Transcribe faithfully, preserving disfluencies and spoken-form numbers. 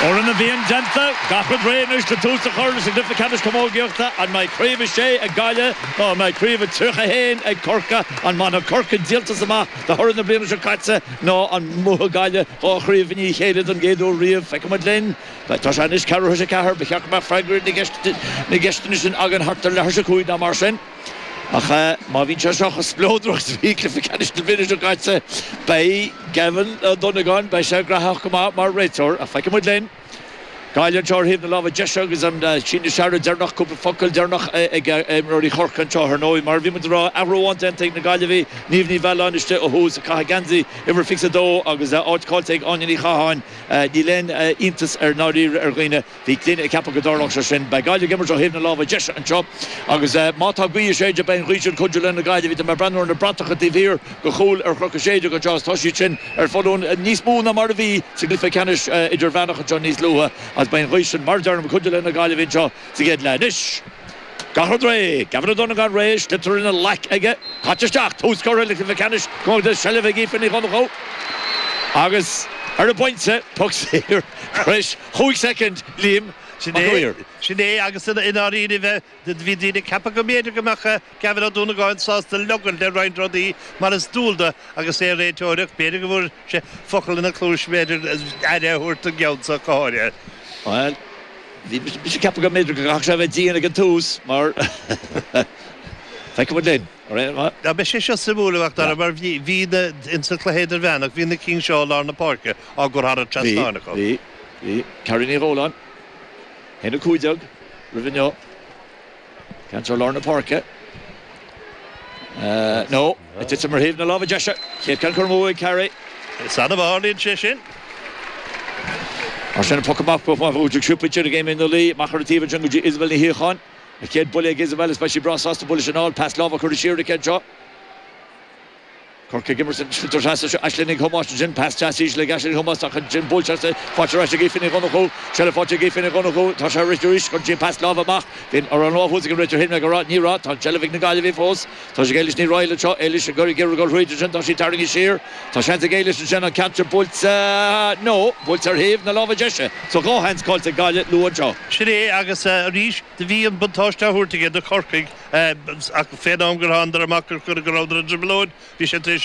Oran a bhíonn déanta gach rud réidh anois le tús a chur leis an gcluiche ceannais camógaíochta an mbeidh craobh a sé ag Gaillimh nó an mbeidh craobh a tríocha haon ag Corcaigh an mbainfidh Corcaigh díoltas amach de thoradh na bliana seo caite nó an mbuafaidh Gaillimh dhá chraobh i ndiaidh a chéile don gcéad uair riamh feicfimid linn Tá sé anois ceathrú théis a ceathair ba cheart go mbeadh freagraí na gceisteanna sin againn thart ar leathuair théis a cúig nó mar sin. Ach má bhíonn sé seo chomh spleodrach is a bhí cluiche ceannais na bliana seo caite, beidh Gavin Ó Donnacháin, beidh sé graitheach go maith mar réiteoir, ach feicfimid linn. Gaillimh anseo ar thaobh na láimhe deise agus an síneadh searradh deireanach, cúpla focal deireanach ag imreoirí Chorcaí anseo ar ndóigh. Mar a bhí muid ag rá, athrú amháin déanta ag na Gaillimhigh, Niamh Ní Mhealláin istigh ó thús, ag caitheamh geansaí uimhir fiche a dó agus áit caillte ag Áine Ní Chatháin. Níl aon iontas ar ndáiríre ar dhaoine. Bhí daoine ag ceapadh go dtarlódh sé sin. Beidh Gaillimh ag imirt ó thaobh na láimhe deise anseo agus má tá gaoth ag séideadh beidh an ghaoth sin cuidiú le na Gaillimhigh. Tá mé ag breathnú ar na bratacha taobh thiar de chúl ar Chnoc na Séideog anseo agus tá siad sin ar foluain níos mó ná mar a bhí sa gcluiche ceannais idirmheánach anseo níos luaithe agus beidh an ghaoth sin, mar a deirim, ag cuidiú le na Gaillimhigh anseo sa gcéad leath. Anois, gach rud réidh. Gavin Ó Donnacháin réidh, sliotar ina ghlac aige. Caite isteach. Tús curtha le cluiche ceannais camógaíochta seilbh ag Aoife Ní Dhonnchú agus ar an bpointe, poc saor tar éis chúig soicind, Liam Sin Mac é, Uidhir. sin é agus i ndáiríre bhí daoine ag ceapadh go mb'fhéidir go mbeadh Gavin Ó Dúnagáin sásta leogaint le roinnt rudaí mar is dual dó agus é ag réiteoireacht. B'fhéidir go bhfuair sé focal ina chluais b'fhéidir aire a thabhairt don gceann seo go háirithe. Bhuel, bhí mise ag ceapadh go mb'fhéidir go gcaithfeadh sé a bheith dian ag an tús mar feicfimid linn. Dá mbeadh sé seo suimiúil a Mhac Dara mar bhí bhí na insa chluiche idirmheánach bhí na cinn seo i lár na páirce á gcur thar an Bhí, trasnán acu. bhí, bhí. Carrie Ní Dhóláin, haon a cúig déag roimh inniu. Ceann seo lár na páirce. Nó, ag titim ar thaobh na láimhe deise. Chéad ceann curtha amú ag Carrie. Is annamh a tharlaíonn sé sin. Mar sin an poc amach go maith ag siúpait ar Amy Nully amach ar an taobh ansin go dtí Isabel Ní Shíocháin. A chéad buille ag Isabel is beidh sí breá sásta buille sin a fháil. Pas láimhe curtha siar aici anseo. Corcaigh ag imirt an sliotar trasna seo Aisling Nic Thomáis ansin pas deas íseal ag Aisling Nic Thomáis ach ansin buailte as faighte ar ais ag Aoife Ní Dhonnchú. Seilbh faighte ag Aoife Ní Dhonnchú. Tá sé ag rith arís chun cinn pas láimhe amach. Bhí an lámh thuas ag an réiteoir féin ag rá ní raibh. Tá an tseilbh ag na Gaillimhigh fós. Tá sé ag Éilis Ní Raghallaigh anseo. Éilis ag iarraidh dul thríd ansin. Tá sí tarraingthe siar. Tá seans ag Éilis ansin an ceann seo buailte nó buailte ar thaobh na láimhe deise. So dhá sheans caillte ag Gaillimh luath anseo. Sin é agus arís do bhí an buntáiste á thabhairt aige do Chorcaigh ach fén am gur thánadar amach gur go rabhadar i dtrioblóid bhí sé tar éis